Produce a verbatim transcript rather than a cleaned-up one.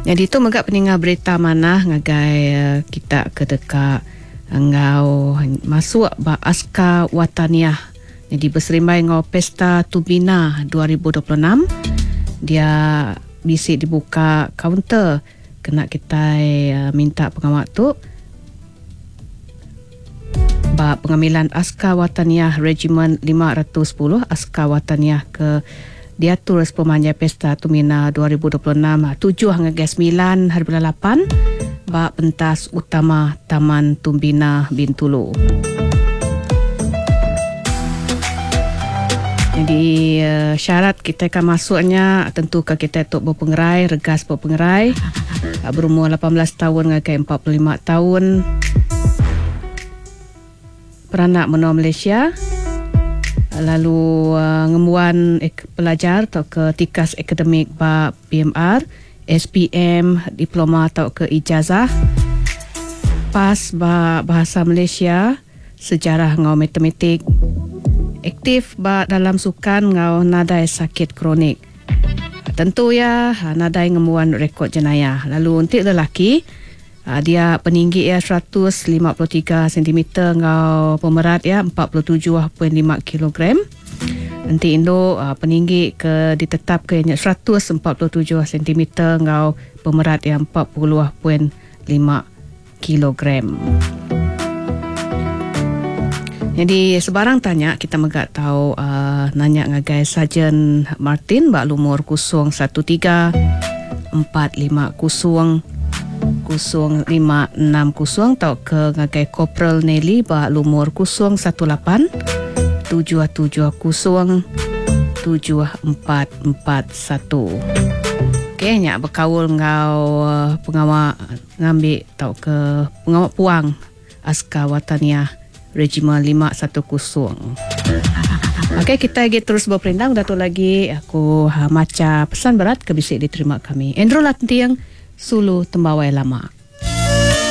Jadi tu mega peninggal berita manah ngagai uh, kita ke deka ngau masuk ba Askar Wataniah. Jadi berserimbai ngau Pesta Tumbina dua ribu dua puluh enam, dia bisi dibuka kaunter kena kita uh, minta pengawal tu ba pengambilan Askar Wataniah Regimen lima ratus sepuluh Askar Wataniah ke diatur sepemanjai Pesta Tumbina dua ribu dua puluh enam tujuh hingga sembilan hari bulan lapan ba pentas utama Taman Tumbina Bintulu. Jadi uh, syarat kita akan masuknya tentu ke kita tu berpengerai, regas berpengerai, uh, berumur lapan belas tahun hingga empat puluh lima tahun, peranak menua Malaysia, lalu uh, ngembuan ek, pelajar atau ke tikas akademik ba P M R, S P M, diploma atau ke ijazah, pas ba bahasa Malaysia, sejarah ngau matematik, aktif ba dalam sukan ngau nadai sakit kronik. Tentu ya nadai ngembuan rekod jenayah. Lalu untuk lelaki, dia peninggi ya seratus lima puluh tiga sentimeter ngau pemerat ya empat puluh tujuh perpuluhan lima kilogram. Nanti induk peninggi ke ditetap ke seratus empat puluh tujuh sentimeter ngau pemerat ya empat puluh perpuluhan lima kilogram. Jadi sebarang tanya kita megak tahu uh, nanya ngagai Sarjan Martin bak lumur kosong satu tiga empat lima kosong kosong lima enam kosong atau ke ngagai Corporal Nelly bak lumur kosong satu lapan tujuh tujuh kosong tujuh empat empat satu. Okey, nyak berkaul ngau pengawal ngambil atau ke pengawal puang Askar Wataniah Regimen lima satu kosong. Okey, kita lagi terus berperindang. Dah tu lagi aku ha, maca pesan berat ke bisik diterima kami. Andrew Lantiang, Sulu Tembawai Lama.